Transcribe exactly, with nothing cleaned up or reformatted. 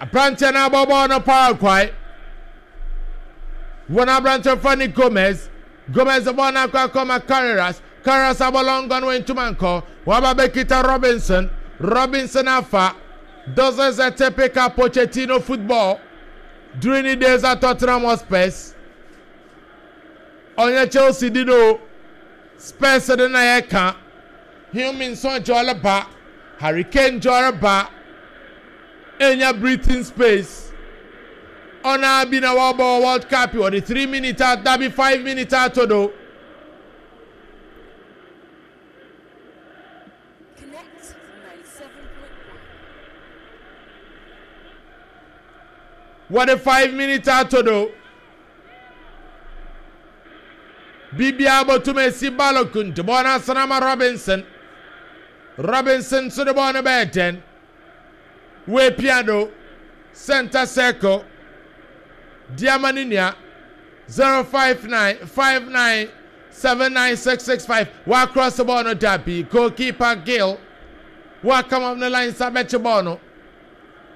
Aberanteɛ no abɔ bɔɔl no Paraguay. Wɔn aberanteɛ fa ne Gomez. Gomez bɔɔl no akɔ akɔma Carreras. Carreras abɔ long gun wɔ ntoma nkɔ. Waba bɛkita Robinson. Robinson afa. This is a typical Pochettino football during the days at Tottenham Hotspurs. Ɔnyɛ Chelsea di no. Spurs de na yɛka. Heung-min Son gyɔre ba. Harry Kane gyɔre ba. Enya breathing space. Ɔna bi na wɔbɔ World Cup wɔde three minutes a dabi five minutes ato do. Connect ninety-seven point one. Wɔde five minutes ato do. Biribiara bɔtum esi. Balogun de bɔɔl no asana ma Robinson. Robinson nso de bɔɔl no bɛyɛ ten. Wɔapia do center circle. Diama ne nua zero five nine five nine seven nine six six five. Wɔacross bɔɔl no, dabi, goalkeeper Gill wɔakam up ne line nsa bɛkye bɔɔl no.